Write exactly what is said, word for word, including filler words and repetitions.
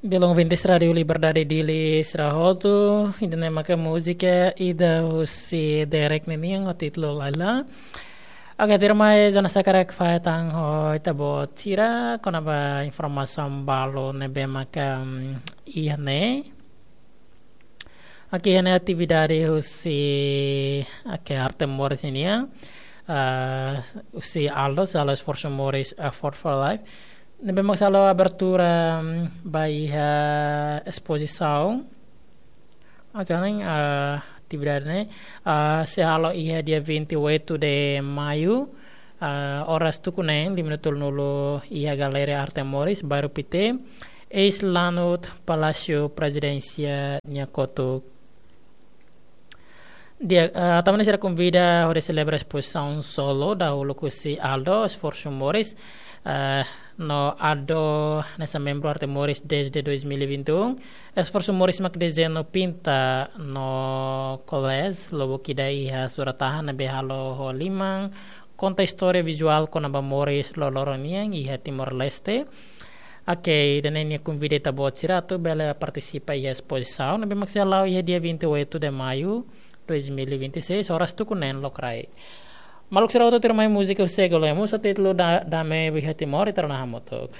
Belun ouvintes Rádio Liberdade Dili sira hotu, ida-ne'e maka múzika ida husi Derek nian ho títulu Laila. Oke, tuirmai Jonas hakarak fahe tan ho ita-boot sira kona-ba informasaun balu ne'ebé maka, mm, iha ne'e. Oke, iha ne'e atividade husi, oke, Arte Moris nian, ah, husi ALDO, husi ALDO Esforsu Moris, Effort for Life. Ne'ebé maka sei halo abertura, mm, ba iha espozisaun. Oke, ne'e, ah, atividade ne'e, ah, sei halo iha dia vinte e oito de maio, ah, oras tuku neen, lima minutu tolunulu iha Galeria Arte Moris, Bairru Pité, eis lanut Palásiu Prezidénsia nia kotuk. Di'ak, ah, tanba ne'e sira konvida hodi selebra espozisaun solo dahuluk husi ALDO, Esforsu Moris, ah, no ALDO hanesan membru Arte Moris desde dois mil e vinte e um. Esforsu Moris mak dezeñu pinta no collage, lubuk ida iha surat-tahan ne'ebé halo ho liman, konta istória vizuál kona-ba moris loroloron nian iha Timor-Leste. Oke, ida-ne'e nia konvida ita-boot sira atu bele partisipa iha espozisaun ne'ebé mak sei hala'o iha dia vinte e oito de maio, dois mil e vinte e seis, oras tuku neen lokraik. Maluk sira hotu, tuirmai múzika husi Ego Lemos ho títulu Da-, Dame Biha Timor, ita rona hamutuk.